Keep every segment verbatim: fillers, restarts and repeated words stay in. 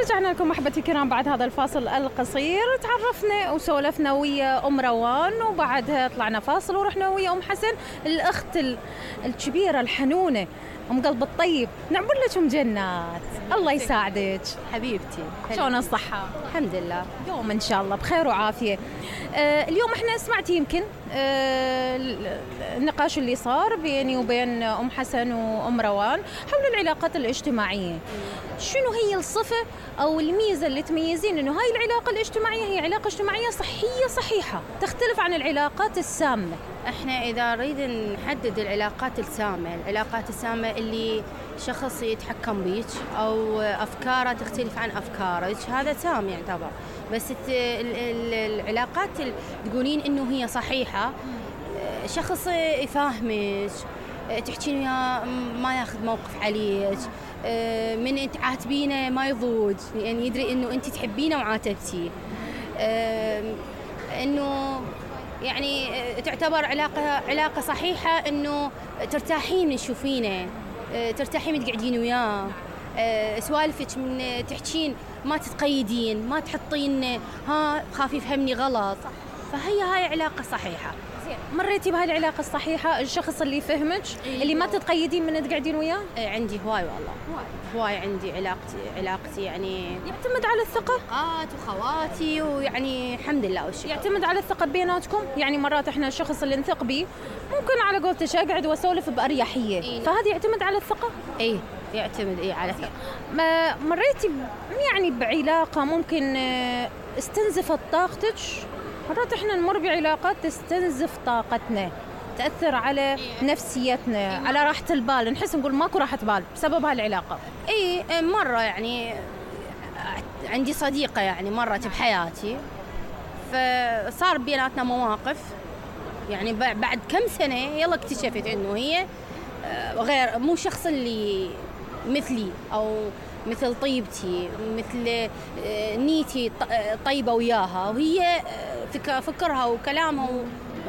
رجعنا لكم أحبتي الكرام بعد هذا الفاصل القصير. تعرفنا وسولفنا ويا أم روان، وبعدها طلعنا فاصل ورحنا ويا أم حسن الأخت الكبيرة الحنونة، أم قلب الطيب. نعبر لك أم جنات، الله يساعدك حبيبتي. شلون الصحة؟ الحمد لله، يوم إن شاء الله بخير وعافية. آه اليوم إحنا سمعتي يمكن آه النقاش اللي صار بيني وبين أم حسن وأم روان حول العلاقات الاجتماعية. شنو هي الصفة أو الميزة اللي تميزين إنه هاي العلاقة الاجتماعية هي علاقة اجتماعية صحية صحيحة تختلف عن العلاقات السامة؟ احنا إذا نريد نحدد العلاقات السامة، العلاقات السامة اللي شخص يتحكم بيك أو أفكاره تختلف عن أفكارك، هذا سام يعتبر. بس العلاقات اللي تقولين إنه هي صحيحة، شخص يفهمك، تحكين وياه ما ياخذ موقف عليك، من تعاتبينه ما يضوج، يعني يدري إنه أنت تحبينه وعاتبتيه، إنه يعني تعتبر علاقة علاقة صحيحة، إنه ترتاحين من تشوفينه، ترتاحين من تقعدين وياه، سوالفك من تحكين ما تتقيدين، ما تحطين ها خاف يفهمني غلط. فهي هاي علاقة صحيحة. مريتي بهاي العلاقة الصحيحة، الشخص اللي يفهمك إيه اللي ما تتقيدين من تقعدين وياه؟ إيه عندي هواي والله، هواي عندي علاقتي علاقتي يعني يعتمد على الثقة، رفقات وخواتي، ويعني الحمد لله والشكر. يعتمد على الثقة بيناتكم، يعني مرات احنا الشخص اللي نثق بيه ممكن على قولتك اقعد واسولف بأريحية، إيه؟ فهذا يعتمد على الثقة؟ ايه يعتمد ايه على الثقة. ما مريتي يعني بعلاقة ممكن استنزفت طاقتك؟ مرات احنا نمر بعلاقات تستنزف طاقتنا، تأثر على نفسيتنا، على راحة البال، نحس نقول ماكو راحة بال بسبب هالعلاقة. ايه مرة يعني عندي صديقة يعني مرت بحياتي، فصار بيناتنا مواقف، يعني بعد كم سنة يلا اكتشفت انه هي غير، مو شخص اللي مثلي او مثل طيبتي، مثل نيتي طيبة وياها، وهي فكرها وكلامها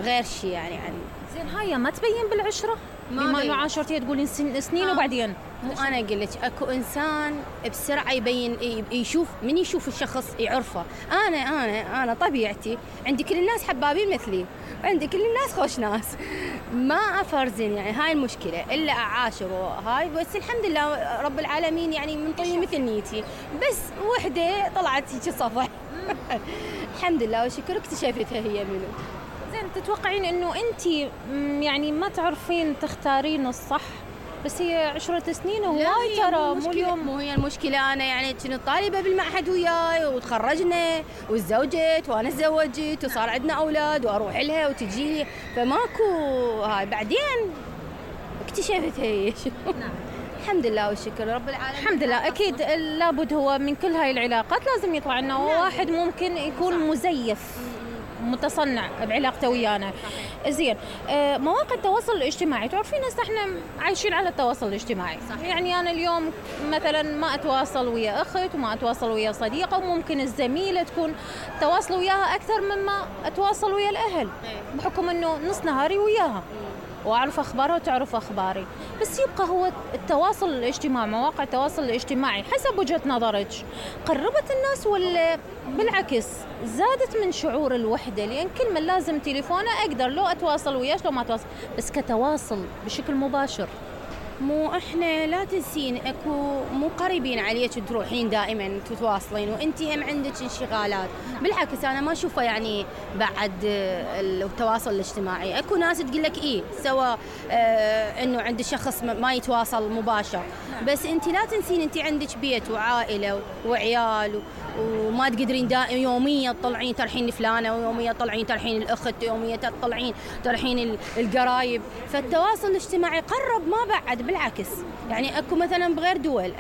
غير شيء يعني عني. زين هاي ما تبين بالعشرة؟ بما انه عاشرتي تقولين سنين آه. وبعدين مو انا اقول لك اكو انسان بسرعه يبين، يشوف من يشوف الشخص يعرفه. انا انا انا طبيعتي عندي كل الناس حبابين مثلي، عندي كل الناس خوش ناس، ما افرزن يعني هاي المشكله الا اعاشر هاي. بس الحمد لله رب العالمين يعني من طيب مثل نيتي، بس وحده طلعت هيك صفح الحمد لله والشكر اكتشفتها هي منو. زين تتوقعين انه انت يعني ما تعرفين تختارين الصح، بس هي عشرة سنين وهاي ترى مو اليوم. مو هي المشكلة، أنا يعني كنت طالبة بالمعهد وياي وتخرجنا وتزوجت وأنا تزوجت وصار عندنا أولاد وأروح لها وتجي لي، فماكو هاي. بعدين اكتشفت هي نعم. الحمد لله والشكر رب العالمين. الحمد لله. أكيد لابد هو من كل هاي العلاقات لازم يطلع لنا واحد ممكن يكون مزيف متصنع بعلاقته ويانا. زين آه مواقع التواصل الاجتماعي، تعرفين هسه احنا عايشين على التواصل الاجتماعي صح. يعني انا اليوم مثلا ما اتواصل ويا اخت وما اتواصل ويا صديقه، وممكن الزميله تكون تواصل وياها اكثر مما اتواصل ويا الاهل بحكم انه نص نهاري وياها واعرف اخبارها وتعرف اخباري. بس يبقى هو التواصل الاجتماعي، مواقع التواصل الاجتماعي حسب وجهة نظرك قربت الناس ولا بالعكس زادت من شعور الوحدة؟ لأن كل من لازم تليفونه أقدر لو أتواصل وياش لو ما أتواصل، بس كتواصل بشكل مباشر. مو احنا لا تنسين اكو مو قريبين عليك تروحين دائما تتواصلين وانت هم عندك انشغالات. بالعكس انا ما اشوفه يعني بعد التواصل الاجتماعي. اكو ناس تقول لك ايه سواء اه انه عند شخص ما يتواصل مباشر، بس انت لا تنسين انت عندك بيت وعائله وعيال وما تقدرين دائما يوميا تطلعين ترحين فلانه ويوميا تطلعين ترحين الاخت يوميا تطلعين ترحين القرايب. فالتواصل الاجتماعي قرب ما بعد، بالعكس يعني اكو مثلا بغير دول